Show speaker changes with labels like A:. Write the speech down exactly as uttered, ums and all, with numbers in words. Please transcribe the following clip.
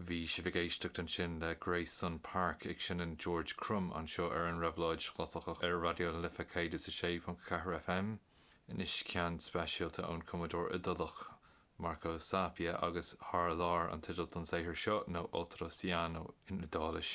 A: Bhí sibh ag éisteacht ansin le Grayson Park ag seinm George Crumb anseo ar an Réabhlóid Chlasaiceach ar Raidió na Life céad is a sé ponc ceathair FM. Anois ceann speisialta ón cumadóir Iodálach Marco Sapia agus Thar Lear an teideal don saothar seo nó Oltreoceano in Iodáilis.